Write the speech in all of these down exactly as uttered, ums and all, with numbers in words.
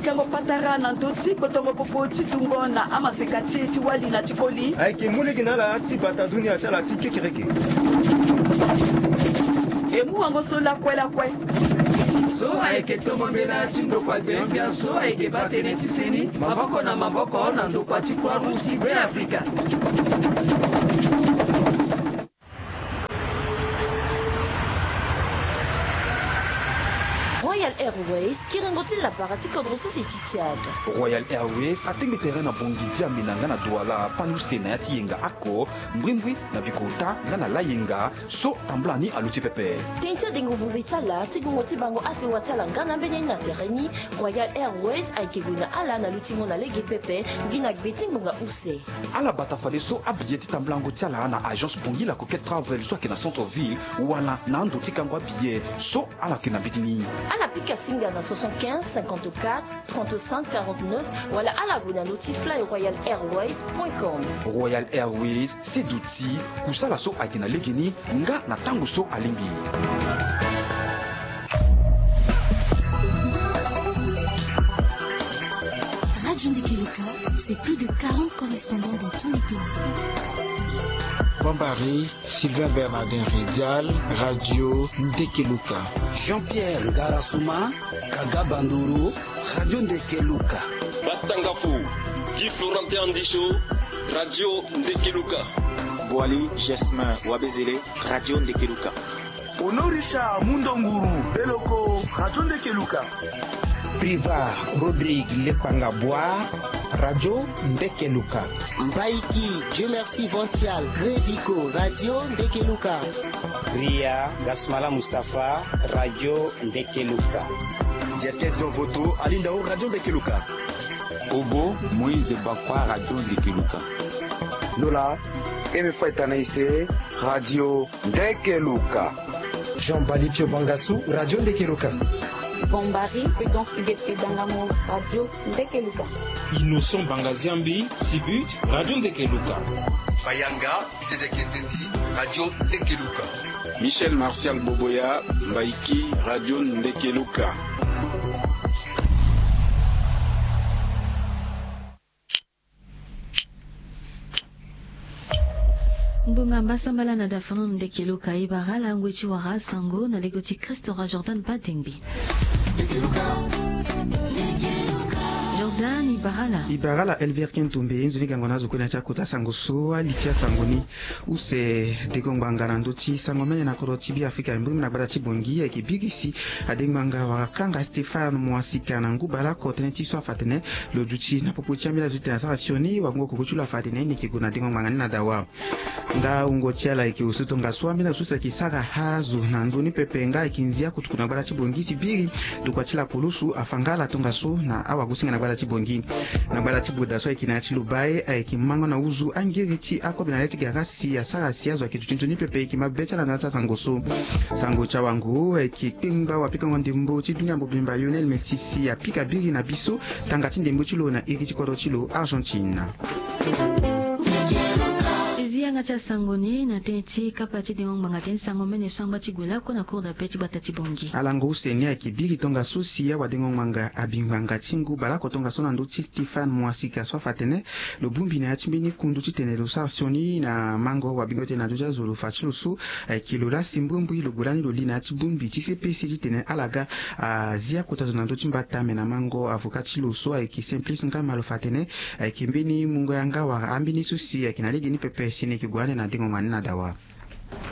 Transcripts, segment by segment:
Kango patara na ndö ti kpotongo popo ti dungo na amaseka ti e ti wali na ti koli. Ayeke mu lege na ala ti bata dunia ti ala ti kekereke. E mu wango so lakue lakue. So ayeke tongo mbela ti ndokua gbengbia so ayeke baa tënë ti seni maboko na maboko na ndokua ti Croix Rouge ti Be Afrika. Royal Airways, kiringo ti lapara ti kodro sese ti Tchad. Royal Airways atengbe tere na Bangui, N'Djamena nga na Douala, panu use na ya ti yenga oko, mbrimbri na bikota nga na layenga, so tambula ni aluti pepe. Tënë ti adengo buze ti ala, ti gongo ti bango asewa ti ala nga na ambeni ni na tere ni, Royal Airways ayeke gue na ala na lutingo na lege pepe, gi na gbe ti ngbonga use. Ala bata fadeso abiye ti tambulango ti ala na agence Bangui La Coquette Travel so ayeke na centre ville, wala na ando ti kango abiye so ala yeke na mbeti ni. Ala pika singa na soixante-quinze cinquante-quatre trente-cinq quarante-neuf, wala ala gue na ndö ti fly royal airways point com. Royal Airways, se duti kusala so ayeke na legeni nga na tango so alingbi. Radio Ndeke Luka, c'est plus de quarante correspondants dans tous les pays. Bambari, Sylvain Bernardin Redial, Radio Ndeke Luka. Jean-Pierre Ngarasuma, Kaga Bandoro, Radio Ndeke Luka. Batangafo, Guy Florentin Andisho, Radio Ndeke Luka. Boali Jasmin Wabezele, Radio Ndeke Luka. Honoré Richard Mundonguru Beloko, Radio Ndeke Luka. Priva Rodrigue Lepanga Bois, Radio Ndeke Luka. Mbaiki Dieu Merci Vancial Grevico, Radio Ndeke Luka. Ria Gasmala Mustapha, Radio Ndeke Luka. Jeskes Dovoto Alindao, Radio Ndeke Luka. Obo Moïse Bakwa, Radio Ndeke Luka. Nola Eme Faitana Ise, Radio Ndeke Luka. Jean Bali Pio Bangassou, Radio Ndeke Luka. Bombari Prudence Huguette Dangamo, Radio Ndeke Luka. Innocent Bangaziambi Sibut, Radio Ndeke Luka. Bayanga Didier Ketendi, Radio Ndeke Luka. Michel Martial Boboya, Mbaiki, Radio Ndeke Luka. Ngbonga mbasambala na dafano Ndeke Luka. E bara ala ngoi ti wara sango na lege ti Christ Roi Jordan Badingbi. Jordan, e bara ala. E bara ala Elvire Kentombe. Nzoni gango na azo kue na ya ti akota sango so. Ali ti asango ni use. Dengo ngbanga na ndö ti sango mene na kodro ti Beafrika, mbrimbri na gbata ti Bangui ayeke biri si adengo ngbanga wara kanga Stéphane Mouassika na ngu bale oko tënë ti so afa atene lo duti na popo ti ambeni azo ti tene asara sioni wango koko ti lo afa atene ni yeke gue na dengo ngbanga ni na dawa. Nda wungo ti ala ayeke osu tongaso ambeni azo so si ayeke sara azo na nzoni pepe nga ayeke nzia kutuku na gbata ti Bangui si biri ndokua ti lapolosu afa nga ala tongaso na awagosinga na gbata ti Bangui. Na gbata ti Boda so ayeke na ya ti Lobaye ayeke mango na uzu angiri ti akobe na le ti gara si asara si azo ayeke duti nzoni pepe. E yeke mabe ti ala na ndö ti asango so. Sango ti awango ayeke kpengba wapikango ndembo ti dunia mobimba Lionel Messi si apika biri na biso tanga ti ndembo ti lo na iri ti kodro ti lo Argentine. Ti zi yanga ti asango ni na tënë ti kapa ti dengo ngbanga tënë ti sango mene so angba ti gue lako na cour d'appel ti gbata ti Bangui. Alango use ni ayeke biri tongaso si awadengo ngbanga abi ngbanga ti ngu bale oko tongaso na ndö ti Stéphane Mouassika so afa atene lo bongbi na ya ti mbeni kundu titene lo sara sioni na mango wabingo tene na ndö ti azo lo fa ti lo so ayeke lo lasi mbrimbri lo gue lani lo li na ya ti bongbi ti C P C titene ala ga azi akota zo na ndö ti mbata me na mango avocat ti lo so ayeke Simplice Ngama lo fa atene ayeke mbeni mungo yanga wala ambeni so si ayeke na legeni pepe si ni yeke gue ande na dengo ngbanga ni na dawa.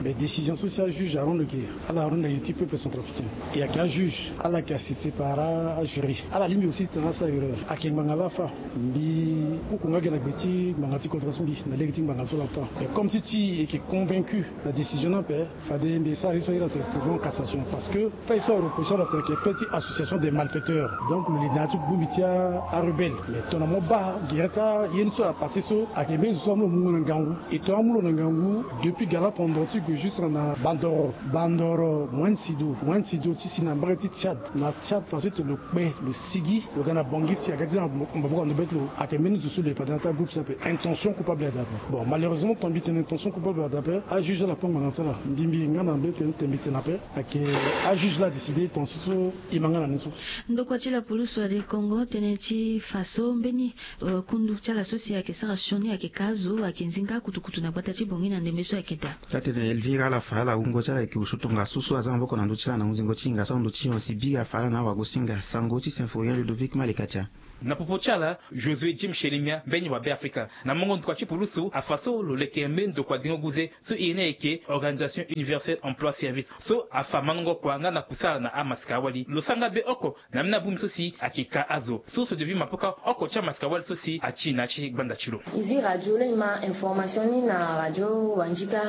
Mais décision so si ajuge arendre ge ala arendre ge ti peuple centrafricain. E ayeke ajuge ala yeke assisté par ajury. Ala lingbi aussi tena asara erreur. Ayeke ngbanga laa afa. Mbi koko nga ge na gbe ti ngbanga ti kodro ti mbi na lege ti ngbanga so laa afa. Mais comme ti ti e yeke convaincu na décision ni ape, fade mbi sara ye so ahiri atene pourvoi en cassation parce que fait so areproché ala atene ayeke fait ti association des malfaiteurs. Donc lo li na ya ti bongbi ti arebelle. Mais tongana mo baa gere ti aye ni so à partir so ayeke mbeni zo so amu lo mungo na ngangu. E tongana amu lo na ngangu depuis gala fondro Ti gue juste na Bandoro, Bandoro, Moine Sido, Moine Sido ti si na mbage ti Tchad. Na Tchad façon ti lo kpe, lo sigi, lo ga na Bangui si aga ti na maboko na ndo bê ti lo, ayeke mbeni zo so lo ye fade na ti agroupe so ape. Intention coupable ada ape. Bon, malheureusement, ton mbi tene intention coupable ada ape, ajuge ala fâ ngbanga ti ala. Mbi mbi nga na mbeni tene tene mbi tene ape, ayeke ajuge la adécidé ton si so e ma nga na ni so. Ndokua ti lapulusu Adekongo tene ti fa so mbeni, euh, kundu ti ala so si ayeke sara sioni ayeke ka azo, ayeke nzinga akutukutu na gbata ti Bangui na ndembe so ayeke daa. Atene Elvira ala fa ala wungo ti ala ayeke osio tongaso so aza maboko na ndö ti ala na hunzingo ti hinga so na ndö ti hon si biri afa ala na awagosinga. Sango ti Symphorien Ludovic Malekatia. Na popo ti ala, Josué Jim Shelemia, mbeni wa Beafrika, na mungo ndokua ti pulusu afa so lo leke mbeni ndokua dingo guze so e ye ni ayeke Organisation Universelle Emploi Service, so afa mandango kua nga na kusala na amasika-wali. Lo sara nga be oko na mbeni abongbi so si ayeke ka azo. Source de vie Mapoka, oko ti amasika-wali so si ati na ya ti gbanda ti lo. E zi radio laa e ma information ni na radio Wandjika,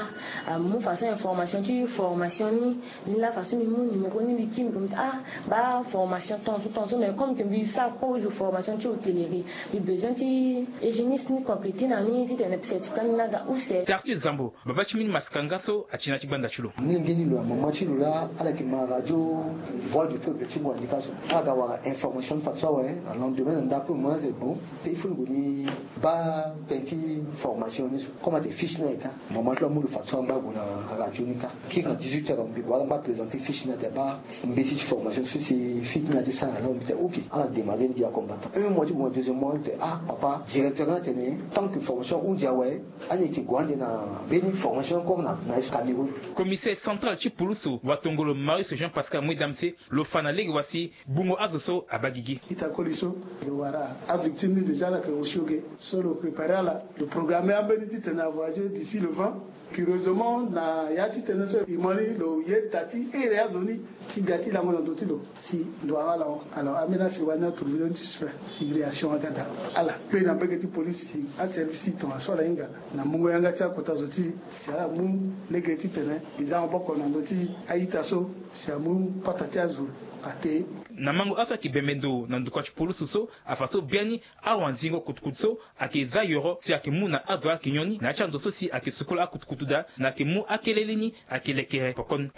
a mu façon information ti formation ni. Ni laa façon mbi mu numéro ni mbi kiri mbi ko mbi ti ah, baa formation ton so ton so, mais comme que mbi sara kozo formation ti hôtellerie, mbi besoin ti hygiéniste ni complété na ni titene certificat ni aga use. Tarcisse Zambo, babâ ti mbeni masika nga so ati na ya ti gbanda ti lo. Molenge ni lo na mama ti lo laa ala yeke ma radio Voix du Peuple ti ngu Wandjika so. Ala ga wara information ni fadeso awe, na lendemain na ndapre mo na ate bon, te il faut lo gue ni baa tënë ti formation ni so. Comme ate fiche ni ayeke ka, mama ti lo amu lo fadeso angba gue na radio ni ka. Kiri na dix-huit heures mbi gue ala ngba présenter fiche ni ate baa mbeti ti formation so si fiche ni ate sara na lo mbi te ok. Ala démarrer ni gi acombattant. Un mois ti gue na deuxième mois ni te ah papa, directeur ni atene tant que formation ahunzi awe, ani yeke gue ande na mbeni formation encore na, na Cameroun. Commissaire central ti pulusu watongolo Marius Jean Pascal Mwidamse, lo fa na lege wa si bungo azo so abaa gigi. Ita koli so lo wara avictime ni déjà ala yeke osio ge. So lo préparer ala, lo programmer ambeni titene avoyager d'ici le vingt. Curieusement na ya ti tënë so e mo ni lo ye da ti here azo ni ti ga ti lango na ndö ti lo si ndo ala hon. Alors ambeni asewa ni atrouver lo ni ti suspect si réaction aga daa. Ala kpe na mbage ti police si aservice ti tongaso ala hinga na mungo yanga ti akota zo ti si ala mu lege titene e za maboko na ndö ti a-ita so si amu pata ti azo ate. Na mango aso ayeke bembe ndo na ndokua ti pulusu so afa so biani awanzingo kutukutu so ayeke za yoro si ayeke mu na azo ala yeke nyon ni na ya ti ando so si ayeke sukola akutukutu daa na ayeke mu akele lini ayeke lekere poko ni.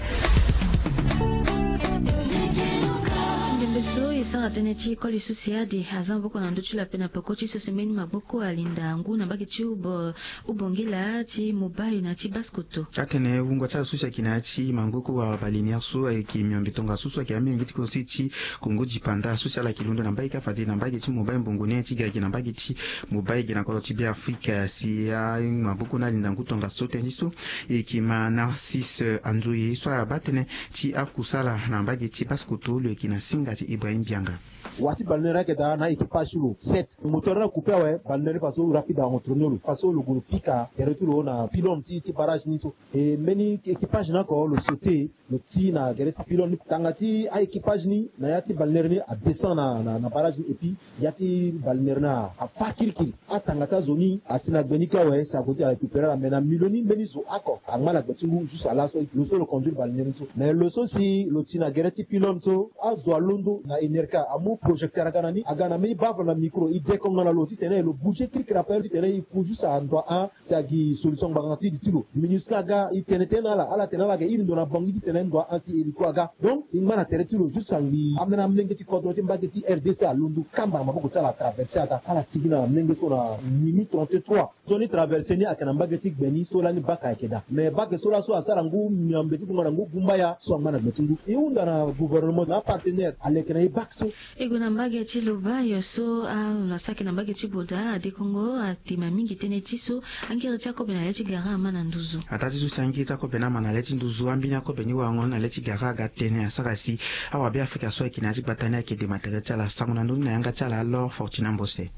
Ndembe so e sara tënë ti koli so si ade aza maboko na ndö ti lo ape na peko ti so si mbeni maboko alinda ngu na mbage ti ubo ubongila ti mobile na ti baskoto. Atene wungo ti azo so si ayeke na ya ti maboko wala balinéaire so ayeke miombe tongaso so ayeke amolenge ti konse ti Kongo dipanda so si ala yeke londo na mbage kâ fade na mbage ti mobile mbongo ni ti ga gi na mbage ti mobile gi na kodro ti Beafrika si amaboko ni alinda ngu tongaso tënë ti so e yeke ma Narcisse Anzoye so abaa tënë ti akusala na mbage ti baskoto lo yeke na singa ti Ibrahim Bianga. Wa ti balenaire ayeke daa na équipage ti lo sept. Moteur ni akupe awe, balenaire ni faso rapide acontrôle lo faso lo gue lo pika tere ti lo na pylône ti, ti barrage ni so. E mbeni équipage ni oko lo sauter, lo ti na gere ti pylône ni. Tanga ti a-équipage ni na ya ti balenaire ni adescend na, na, na barrage ni, et puis ya ti balenaire ni afâ kirikiri. Atanga ti azo ni asi na gbe ni kâ awe, si ague ti ala récupérer ala, mais na milieu ni mbeni zo oko angba na gbe ti ngu, juste ala so lo so lo conduire balenaire ni so. Mais lo so si lo ti na gere ti pylône so, azo alondo na Enerca amu projecteur aga na ni, aga na mbeni bave na micro, e dekonga na lo titene lo bouger kirikiri ape titene e ku juste ando ahon si agi solution ngbanga ti di ti lo. Minusca aga e tene tënë na ala, ala tene ala yeke iri ndo na Bangui titene ndo ahon si hélico aga. Donc e ngba na tere ti lo juste angbi ambeni amolenge ti kodro ti mbage ti R D C alondo kamba na maboko ti ala, atraverser aga, ala sigi na amolenge so na Nimi trente-trois. Sioni traverser ni ayeke na mbage ti gbe ni so lani baka ayeke daa. Mais bake so laso asara ngu miombe ti gbonga na ngu gumbaya so angba na gbe ti ngu. E hunda na gouvernement na apartenaire aleke na e bake so. E gue na mbage ti Lobaye so, ah, na saki na mbage ti Boda, Adekongo atima mingi tënë ti so angiri ti akobe na le ti gara ama na nduzu. Ataa ti so si angiri ti akobe ni ama na le ti nduzu, ambeni akobe ni warango ni na le ti gara aga tënë asara si awabe Afrika so ayeke na ya ti gbata ni ayeke dema tere ti ala. Sango na ndö ni na yanga ti ala Laure Fortuna Mbose.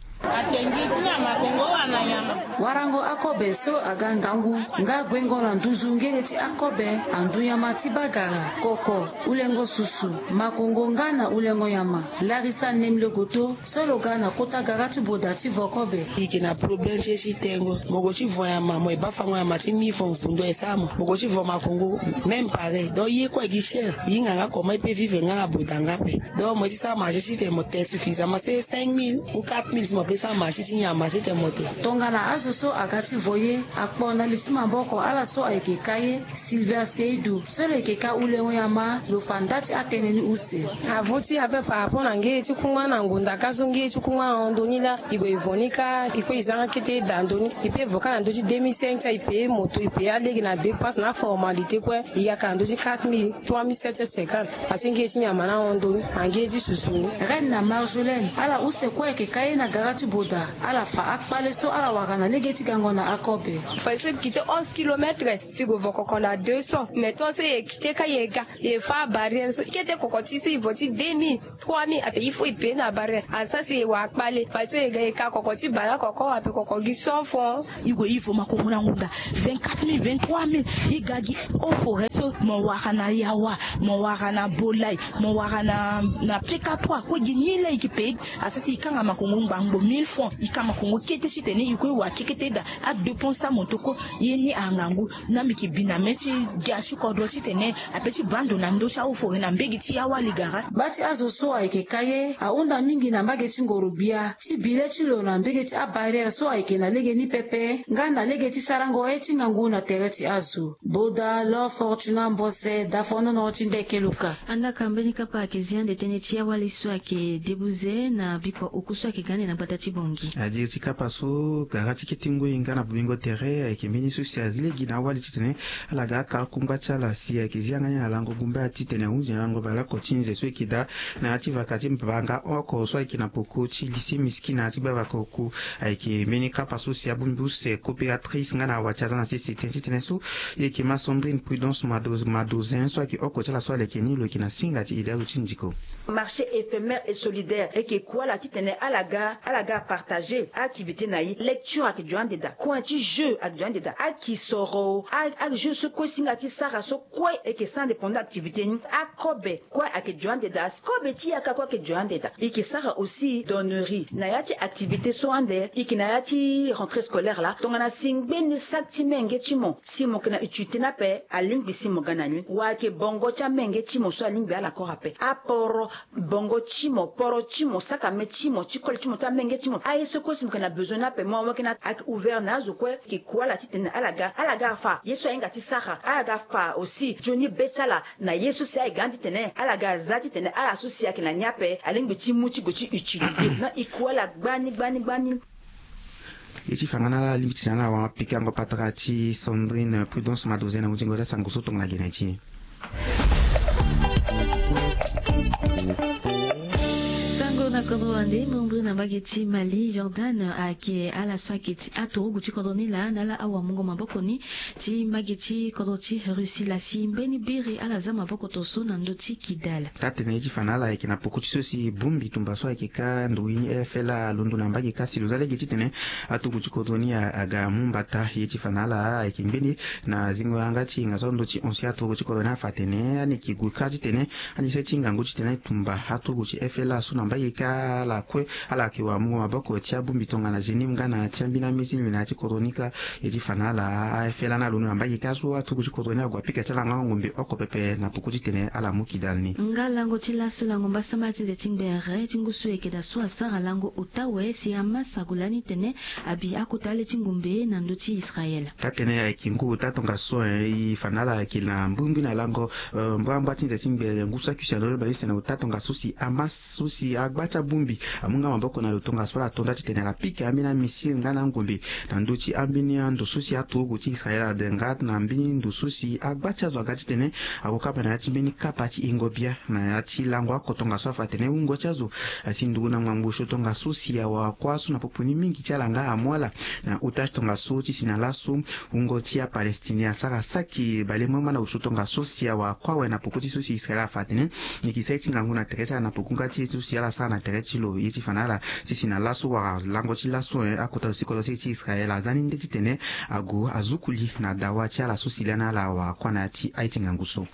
Warango akobe so aga ngangu nga guengo na nduzu ngere ti akobe, andu nyama ti bagara, koko, ulengo susu, makongo nga na ulengo nyama. Larisa Nemle Goto so lo ga na kota gara ti Boda ti vo kobe. E yeke na problème ti e ti tengo. Mo gue ti vo nyama, mo ye baa fango nyama ti mi fo, vundo e sara mo. Mo gue ti vo makongo, même pareil. Donc ye kue e gi cher. E hinga nga comment e peut vivre nga na Boda nga ape. Donc mo ye ti sara marché titene mo te suffisamment, c'est cinq mille ou quatre mille si mo peut sara Asi ti nyama titene moto tongana azo so aga ti voye akpo na li ti maboko ala so ayeke ka ye. Silver Seidu so lo yeke ka ulengo nyama lo fa nda ti atënë ni use. Avo ti ape par rapport na nge ti kungba na ngunda ka so nge ti kungba na hondo ni laa e gue e vo ni ka e kue e zanga kete da ndo ni. E pe vo ka na ndö ti deux mille cinq ti aye e pe moto e pe alege na dépense na aformalité kue. E yaka na ndö ti quatre mille trois mille sept cent cinquante. Asi nge ti nyama na hondo ni ange ti susu ni. Reine na Marjolaine ala use kue ayeke ka ye na gara ti boda. Ala fa akpale so ala wara na lege ti gango na akobe. Fa so e kite onze kilomètre si go vo koko na deux cents mais ton so e kite ka e ga e fa abarrière so kete koko ti so e vo ti deux mille trois mille ate il faut e pe na abarrière asa si e wara akpale fa so e ga e ka koko ti bala koko ape koko gi cent francs. E gue e vo makongo na ngunda vingt-quatre mille vingt-trois mille. E ga gi o forêt so mo wara na yawa, mo wara na bolai, mo wara na na pekatoire kue gi ni laa e yeke pe. Asa si e kanga makongo ngbangbo mille francs e ka makongo kete titene e kue e wara kekete daa. Adépense ti amoto kue ye ni angangu. Na mbi yeke bi na mê ti ga ti kodro titene ape ti baa ndo na ndö ti aofore na mbege ti yawali gara. Baa ti azo so ayeke ka ye ahunda mingi na mbage ti ngoro-bia ti bi le ti lo na mbege ti abarrière so ayeke na lege ni pepe nga na lege ti sarango ye ti ngangu na tere ti azo. Boda lo Fortuna Mbose dafonono ti ndeke luka. Andaka mbeni kapa ayeke zi ande tënë ti awali so ayeke debuze na bikua oku so ayeke ga ande na gbata ti Bangui. Adiri ti kapa so gara ti kete ngoi nga na bobingo tere ayeke mbeni so si azi lege na awali titene ala ga aka akungba ti ala si ayeke zi yanga ni na lango gumbaya titene ahunzi na lango balako ti nze so eke daa na ya ti vaka ti mbanga oko so ayeke na poko ti lycée Miskina ti gbavaka oku. Ayeke mbeni kapa so si abongbi use coopératrice nga na awa ti aza na sese tënë titene so. E yeke ma Sandrine Prudence Mado- Madozin so ayeke oko ti ala so ala yeke ni lo yeke na singa ti ede azo ti ndiko. Marché éphémère et solidaire eke ku ala titene ala ga ala ga apartager activité na e. Lecture ayeke jo ande daa, coin ti jeu ayeke jo ande daa, akisoro a- ajeu so kue singa ti sara so kue eke sande pendant activité ni. Akobe kue ayeke jo ande daa, kobe ti yaka kue ayeke jo ande daa. E yeke sara aussi donnerie na ya ti activité so ande e yeke na ya ti rentrée scolaire laa tongana si ngbeni sac ti menge ti mo si mo yeke na utilité ni ape alingbi si mo ga na ni. Wala ayeke bongo ti amenge ti mo so alingbi ala kora ape aporo bongo ti mo, poro ti mo, sakame ti mo ti koli ti mo ti amenge ti mo, aye so kue si mo yeke na besoin ni ape mo awe kena ayeke ouvert na azo kue. Eke ku ala titene ala ga ala ga afa ye so ahinga ti sara ala ga afa aussi nzoni be ti ala na ye so si aye ga ande titene ala ga za titene ala so si ayeke na ni ape alingbi ti mu ti gue ti utiliser na e ku ala gbani gbani gbani. Ye ti fa nga na ala alingbi ti na ala wara pikango patara ti Sandrine Prudence Madozin na hunzingo ti asango so tongana gene ti e. Sango na kodro wande mbrimbri na mbage ti Mali, Jordan ayeke ala so ayeke ti aturugu ti kodro ni laa na ala awamungo maboko ni ti mbage ti kodro ti Russie laa si mbeni biri ala za maboko to so na ndö ti Kidal. Taa tene ye ti fa na ala ayeke na poko ti so si bongbi tumba so ayeke ka nduru ni F L A alondo na mbage ka si lo za lege titene aturugu ti kodro ni aga amu mbata. Ye ti fa na ala ayeke mbeni na zingo yanga ti hinga so ando ti hon si aturugu ti kodro ni afa atene ani yeke gue kâ titene ani sara ti ngangu titene tumba aturugu ti F L A so na mbage kâ ala kue ala yeke wamungo maboko ti abongbi tongana Zenim nga na ti ambeni amizili na ya ti kodro ni kâ. Ye ti fa na ala a F L A ni alondo na mbage kâ so aturugu ti kodro ni ague apika ti ala nga ngombe oko pepe na poko titene ala mu kidal ni. Nga lango ti laso lango mbasambala ti nze ti ngbere ti ngu so eke daa so asara lango ota awe si Hamas ague lani tene abi akota le ti ngombe na ndö ti Israel. Taa tene ayeke ngu ota tongaso e fa na ala ayeke na mbrimbri na lango mbrambra ti nze ti ngbere ngu so akui si alondo bale use na ota tongaso si Hamas so si agba ti abongbi amu nga maboko na lo tongaso ala to nda titene ala pika ambeni amissile nga na angombe na ndö ti ambeni ando so si aturugu ti Israel ade nga na mbeni ndo so si agba ti azo aga titene ague kapa na ya ti mbeni kapa ti hingo bia na ya ti lango oko tongaso afa atene wungo ti azo asi nduru na ngbangbo osio tongaso si awara kuâ so na popo ni mingi ti ala nga amu ala na otage tongaso ti si na laso. Wungo ti apalestine asara saki balebrambra na osio tongaso si awara kuâ awe na poko ti so si Israel afa atene e yeke sara ye ti ngangu na tere ti ala na poko nga ti ye so si ala sara na tere ti lo. Ye ti fa na ala ti si na laso wala lango ti laso e akota zo si kodro ti e ti Israel aza ni nde titene ague azuku li na dawa ti ala so si lani ala awara kuâ na ya ti aye ti ngangu so.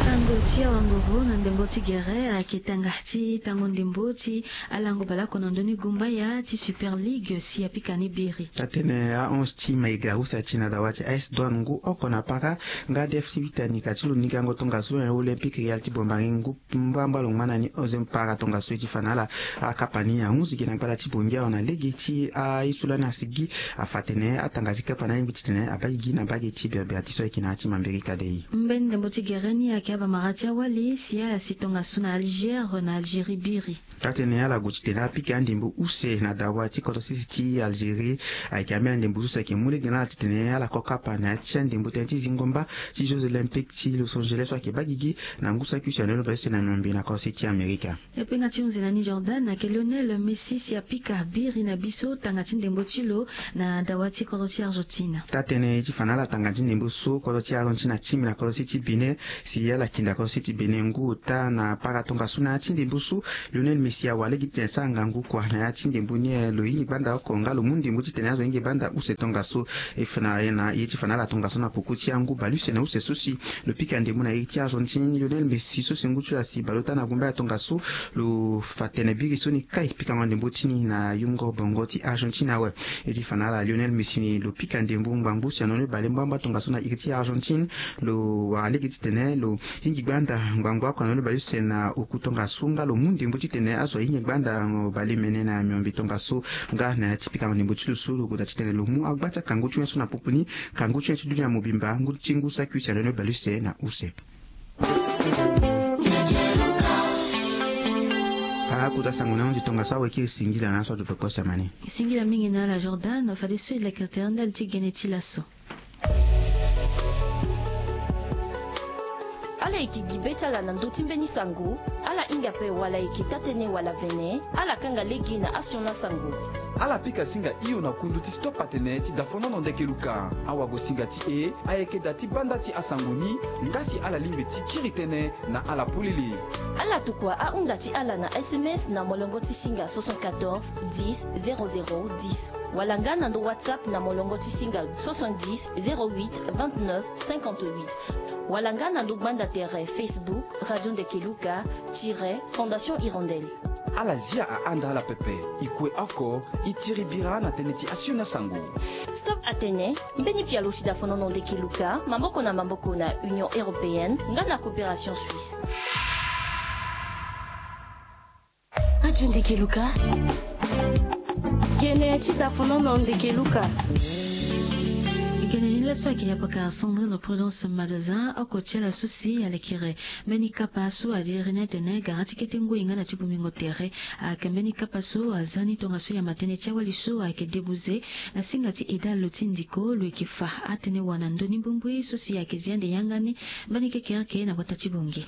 Sango Ti awangoro na ndembo ti gere ayeke tanga ti tango ndembo ti alango baleoko na ndö ni gumbaya ti Super League si apika ni biri. Atene ahonse ti Maïga, use ti na dawa ti A S Douanes ngu oko na para, nga D F C Vita ni ka ti lo nigango tongaso, Olympique Real ti Bombari ngu mbamba lo ngba na ni onzième para tongaso. E ti fa na ala akapa ni ahunzi gi na gbata ti Bongi awe na lege ti aye so lani asigi. Afa atene atanga ti kapa ni alingbi titene abaa gi na mbage ti Berbère ti so ayeke na ya ti Mambérika dei. Mbeni ndembo ti gere ni ayeke abamara ti awali si ala si tongaso na Alger na Algérie biri. Atene ala gue titene apika andembo use na dawa ti kodro sese ti Algérie. Ayeke ambeni andembo so si ayeke mu lege na ala titene ala ko kapa na ya ti andembo tënë ti zingo mba ti Jeux Olympiques ti Los Angeles so ayeke baa gigi na ngu saki use na ndö ni bale use na miombe na kodro sese ti Amerika. Epenga ti hunzi na ni Jordan ayeke Lionel Messi si apika biri na biso tanga ti ndembo ti lo na dawa ti kodro ti Argentine. Taa-tënë ti fa na ala tanga ti ndembo so kodro ti Argentine atimi na kodro sese ti Bénin si ala kinda kodro sese ti Bénin ngu ota na para tongaso na ya ti ndembo so Lionel Messi awara lege titene asara ngangu kua na ya ti ndembo ni. Lo hingi gbanda oko nga lo mu ndembo titene azo ahinga gbanda use tongaso. E fa na ye ti fa na ala tongaso na poko ti angu baleuse na use so si lo pika ndembo na iri ti Argentine. Lionel Messi so si ngu ti lo asi baleota na gumbaya tongaso, lo fa tene biri so ni kai pikango ndembo ti ni na yongo bongo ti Argentine awe. E ti fa na ala Lionel Messi ni lo pika ndembo ngbangbo use na ndö ni bale mbamba tongaso na iri ti Argentine. Lo wara lege titene lo hingi gbanda ngbangbo oko na ndö ni baleuse na oku tongaso nga lo mu ndembo titene azo ahinga gbanda bale mene na miombe tongaso. Nga na ya ti pikango ndembo ti lo so lo gue daa titene lo mu agba ti akangu ti wen so na popo ni. Kangu ti wen ti dunia mobimba ngu ti ngu saki use na ndö ni baleuse na use. Akota sango na yonde tongaso awekiri singila na aso adu peko samani. Singila mingi na ala Jordan fadeso e leke tere ndali ti gene ti laso. Ala yeke gi be ti ala na ndö ti mbeni sango. Ala hinga ape wala ayeke taa-tënë wala vene. Ala kanga lege na asioni asango. Ala pika singa hio na kundu ti Stop Atene ti Dafonono Ndeke Luka. Awagosinga ti e ayeke da ti banda ti asango ni. Nga si ala lingbi ti kiri tënë na ala polele. Ala tokua ahunda ti ala na S M S na molongo ti singa soixante-quatorze dix zéro zéro dix. Wala nga na ndo WhatsApp na molongo ti singa soixante-dix zéro huit vingt-neuf cinquante-huit. Wala nga na ndo gbanda tere Facebook Radio Ndeke Luka tiret Fondation Hirondelle. Ala zia ahanda ala pepe. E kue oko, e tiri bira na tënë ti asioni asango. Stop Atene, mbeni pialo ti Dafonono Ndeke Luka maboko na maboko na Union Européenne nga na Coopération Suisse. Radio Ndeke Luka. Gene ti Dafonono Ndeke Luka. Gene ni laso ayeke yapaka Sandrine Prudence Madazin oko ti ala so si alekere mbeni kapa so adiri ni atene gara ti kete ngoi nga na ti bongbingo tere. Ayeke mbeni kapa so aza ni tongaso yamba tënë ti awali so ayeke debuze na singa ti edalo ti ndiko lo yeke fa atene wa na ndö ni mbumbui so si ayeke zi ande yanga ni mbeni kekereke na gbata ti Bongi.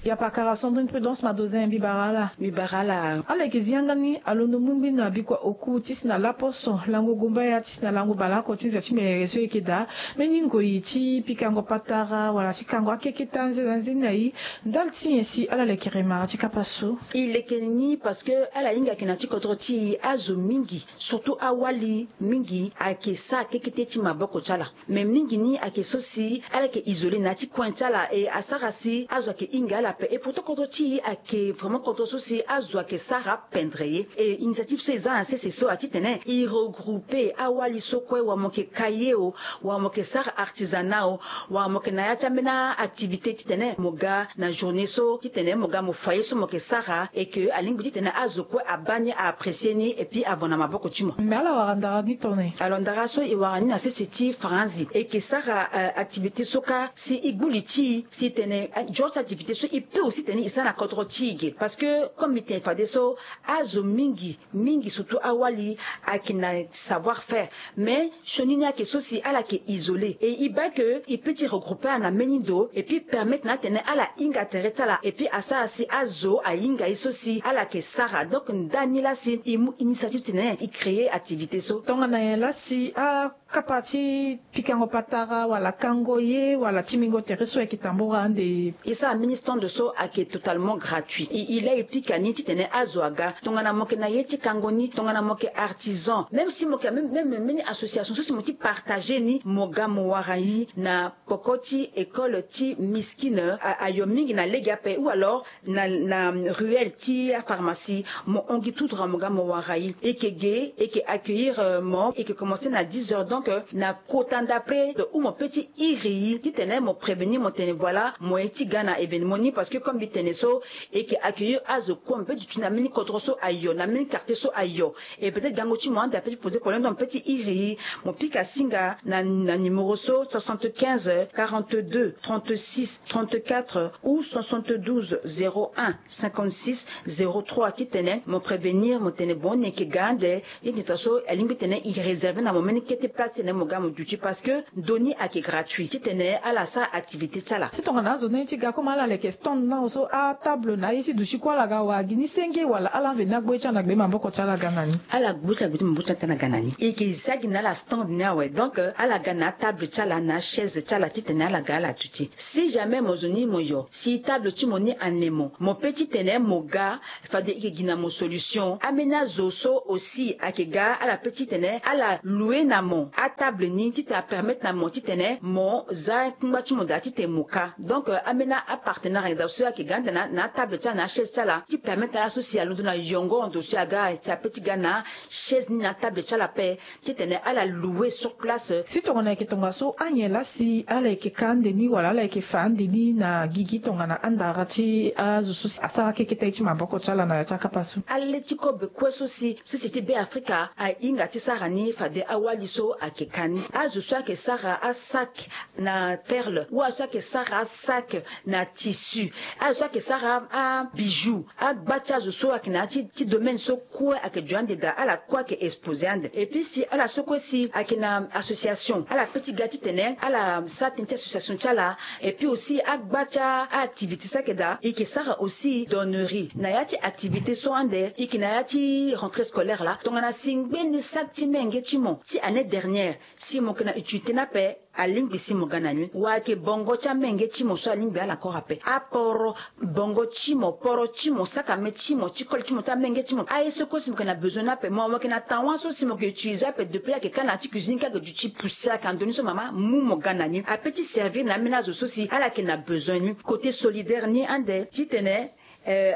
Yapakara Sandrine Prudence Madozin, mbi bara ala. Mbi bara ala. Ala yeke zi yanga ni alondo mbumbui na bikua oku ti si na laposo lango gumbaya ti si na lango baleoko ti nze ti merere so e yeke daa mbeni ngoi ti pikango patara wala ti kango akeketa nzena nzeni na e. Ndali ti nyen si ala lekere mara ti kapa so? E leke ni parce que ala hinga yeke na ti kodro ti e azo mingi, surtout awali mingi ayeke sara kekete ti maboko ti ala. Mais mingi ni ayeke so si ala yeke isolé na ya ti coin ti ala, e asara si azo ayeke hinga ala ape. Et pourtant kodro ti e ayeke vraiment kodro so si azo ayeke sara pendre ye. E initiative so e za na sese so ati tene e regroupe awali so kue, wala mo yeke ka ye o, wala mo yeke sara artisanat o, wala mo yeke na ya ti ambeni activité ti tene mo ga na journée so ti tene mo ga mo fa ye so mo yeke sara, et que alingbi ti tene azo kue abaa ni, a apprécier ni et puis avo na maboko ti mo. Mais ala wara ndara ni tone? Alors ndara so e wara ni na sese ti faranzi, e yeke sara, euh, activité so kâ si e gbu li ti e si tene, euh, genre ti activité so e peut aussi tene e sara na kodro ti e ge. Parce que comme mbi tene fadeso, azo mingi mingi surtout awali ayeke na savoir faire. Mais sioni ni ayeke so si ala yeke isolé, et e baa que e peut ti regrouper ala na mbeni ndo et puis permettre na atene ala hinga tere ti ala et puis asara si azo ahinga ye so si ala yeke sara. Donc ndani laa si e mu initiative ti tene e créer activité so. Tongana nyen laa si akapa ti pikango patara wala kango ye wala timbingo tere so ayeke tambura ande? E sara mbeni stand de so ayeke totalement gratuit. E e laa e pika ni titene azo aga tongana mo yeke na ye ti kango ni, tongana mo yeke artisan, même si mo yeke même même mbeni association so si mo ti partager ni, mo ga mo wara i na poko ti école ti miskine, ayo mingi na lege ape ou alors na na ruelle ti apharmacie, mo hon gi tout droit mo ga mo wara i. E yeke ge, e yeke accueillir mo, e yeke commencer na dix heures. Donc na kota ndapre ou mo pe ti iri i titene mo prévenir mo tene voilà mo ye ti ga na événement ni parce que comme mbi tene so, e yeke accueillir azo kue mo pe duti na mbeni kodro so ayo na mbeni quartier so ayo. Et peut-être gango ti mo ande ape ti poser problème donc mo pe ti iri i, mo pika singa na na numéro so soixante-quinze quarante-deux trente-six trente-quatre ou soixante-douze zéro un cinquante-six zéro trois titene mo prévenir mo tene bon ni yeke ga ande. Ye ti ta so alingbi tene e réserver na mo mbeni kete place titene mo ga mo duti parce que ndo ni ayeke gratuit titene ala sara activité ti ala. Si tongana azo ni ti ga comme ala leke stand na so atable na aye ti duti kue ala ga wara gi ni senge wala ala veni agbu ye ti ala na gbe maboko ti ala ga na ni? Ala gbu ye ti ala gbe ti maboko ti ala ti ala ga na ni. E yeke za gi na ala stand ni awe donc ala ga na atable ti ala na achaise ti ala titene ala ga ala duti. Si jamais mo zo ni mo yo si table ti mo ni ane mo, mo pe titene mo ga fade e yeke gi na mo solution. Ambeni azo so aussi ayeke ga ala pe titene ala loue na mo atable ni titene apermettre na mo titene mo za kungba ti mo daa titene mo ka. Donc ambeni apartenaire ayeke daa so ayeke ga ande na atable ti ala na achaise ti ala ti permettre na ala so si alondo na yongo ndo so aga si ape ti ga na chaise ni na atable ti ala ape titene ala loue sur place. Si tongana ayeke tongaso anyen laa si ala yeke ka ande ni wala ala yeke fa ande ni na gigi tongana andara ti azo so si asara keketa ye ti maboko ti ala na ya ti akapa so? Ale ti kobe kue so si sese ti be afrika ahinga ti sara ni fade awali so ayeke ka ni. Azo so ayeke sara asac na perle ou azo so ayeke sara asac na tissu, azo so ayeke sara abijou, agba ti azo so ayeke na ya ti domaine so kue ayeke jo ande daa ala kue ayeke exposer ande. Et puis si ala so kue si ayeke na association ala pe ti ga titene ala sara tënë ti association ti ala. Et puis aussi agba ti aactivité so ayeke daa e yeke sara aussi donnerie na ya ti activité so ande e yeke na ya ti rentrée scolaire laa tongana si ngbeni sac ti menge ti mo ti année dernière si mo yeke na utilité ni ape. Alingbi si mo ga na ni wala ayeke bongo ti amenge ti mo so alingbi ala kora ape aporo bongo ti mo poro ti mo sakame ti mo ti kole ti mo ti amenge ti mo aye so kue si mo yeke na besoin ni ape mo mo yeke na tawa so si mo yeke utiliser ape depuis ayeke ka na ya ti cuisine ka ayeke duti poussière ayeke na ndoni so mama mu mo ga na ni ape ti servir na ambeni azo so si ala yeke na besoin ni. Côté solidaire ni ande titene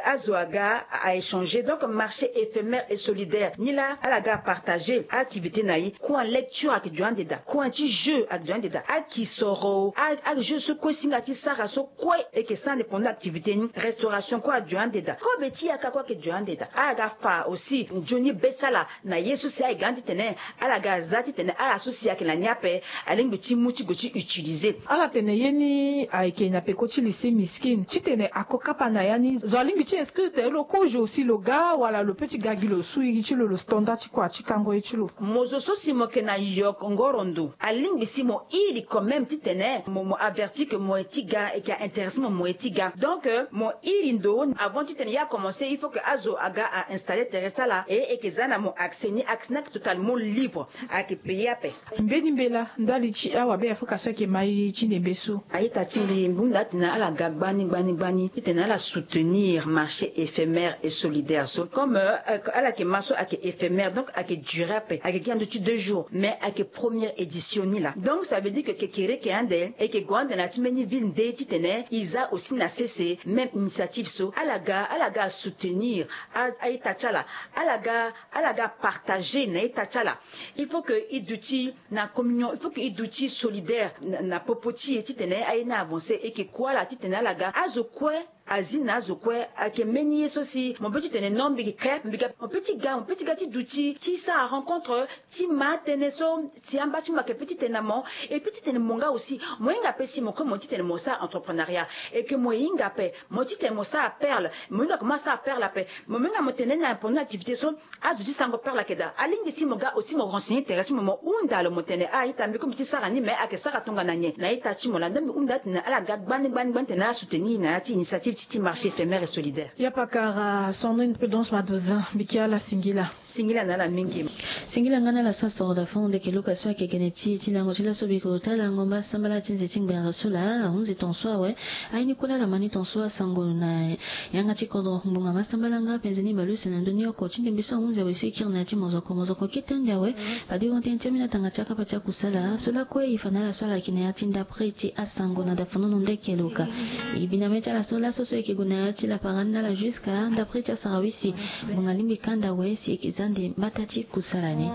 azo aga a échanger donc marché éphémère et solidaire ni laa ala ga apartager activité na ye. Coin lecture ayeke jo ande daa coin ti jeu ayeke jo ande daa akisoro ajeu so kue si nga ti sara so kue e yeke sara ande pendant activité ni restauration kue ajo ande daa kobe ti yaka kue ayeke jo ande daa ala ga fa aussi nzoni be ti ala na ye so si aye ga ni titene ala ga za titene ala so si ayeke na ni ape alingbi ti mu ti gue ti utiliser. Ala tene ye ni ayeke na peko ti lycée miskine titene ako kapa na ya ni zo alingbi ti inscrire tene lo kozo si lo ga wala lo pe ti ga gi lo su iri ti lo lo standard ti kua ti kango ye ti lo. Mo zo so si mo yeke na yokongoro ndo alingbi si mo iri quand même titene mo mo avertir ke mo ye ti ga e ke a intéressé mo mo ye ti ga donc mo iri ndo avant titene ye akomense il faut ke azo aga a installer tere ti ala e e ke za na mo accès ni accès ni ayeke totalement libre. Ayeke payer ape. Mbeni mbela ndali ti awabe afrika so ayeke ma i ti nembe so. A-ita ti mbi mbi hunda atene ala ga gbani gbani gbani titene ala soutenir marché éphémère et solidaire so comme ala yeke ma so ayeke éphémère donc ayeke durer ape ayeke gi na ndö ti deux jours mais ayeke première édition ni laa donc ça veut dire ke kekereke ande e yeke gue ande na ya ti mbeni ville nde titene e za aussi na sese même initiative so ala ga ala ga asoutenir a-ita ti ala ala ga ala ga apartager na ita ti ala. Il faut ke e duti na communion il faut ke e duti solidaire na popo ti e titene aye ni avancer e yeke kue ala titene ala ga azo kue azi na azo kue. Ayeke mbeni ye so si mo be titene non mbi yeke kre mbi ga mo pe ti ga mo pe ti ga ti duti ti sara rencontre ti ma atënë so si amba ti mo ayeke pe titene na mo. Et pe titene mo nga aussi mo hinga pe si mo kue mo titene mo sara entreprenariat e ke mo hinga pe mo titene mo sara perle mo hinga koma asara perle ape. Mo minga mo tene na pendant activité so azo ti sango perle ayeke daa alingbi si mo ga aussi mo renseigner tere ti mo mo hunda lo mo tene a-ita mbi kue mbi ti sara ni mais ayeke sara tongana nyen na ita ti mo laa donc mbi hunda atene ala ga gbani gbani gbani tene ala soutenir na ya ti initiative. ti ti marché éphémère et solidaire. Ya pakara Sandrine Prudence Madoza, mbi ke ala singila. Singila na ala mingi. Singila nga na ala so asoro da fond ndeke luka so ayeke gene ti e ti lango ti laso biko ta lango mbasambala ti nze ti ngbere so laa ahunzi tonso awe. Aye ni kue laa ala ma ni tonso asango na yanga ti kodro ngbonga mbasambala nga penze ni baleuse na ndö ni oko ti ndembe so ahunzi awe so e kiri na ya ti mozoko mozoko kete ande awe. Fade e hon tënë ti ambeni atanga ti akapa ti akusala so lakue e fa na ala so ala yeke na ya ti ndapre ti asango na dafonono ndeke luka. E bi na mê ti ala so laso so e yeke gue na ya ti lapara ni na ala jusqu'à ndapre ti asara wisi. Ngbonga lingbi kanda awe si e yeke za nde mbata ti kusala ni.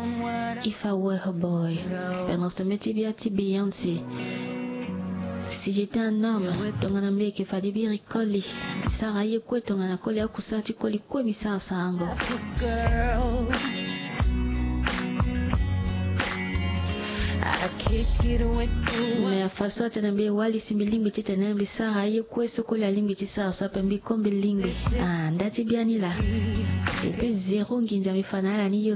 If I were a boy. Pendence tënë ti bia ti Beyoncé. Si j'étais un homme, tongana mbi yeke fade biri koli. Sara ye kue tongana koli akusala ti koli kue mbi sara sarango. Me afa so atene mbi e wali si mbi lingbi titene mbi sara aye kue so koli alingbi ti sara so ape mbi ko mbi lingbi. Ah, nda ti biani laa. Et puis zéro nginza mbi fa na ala ni yo.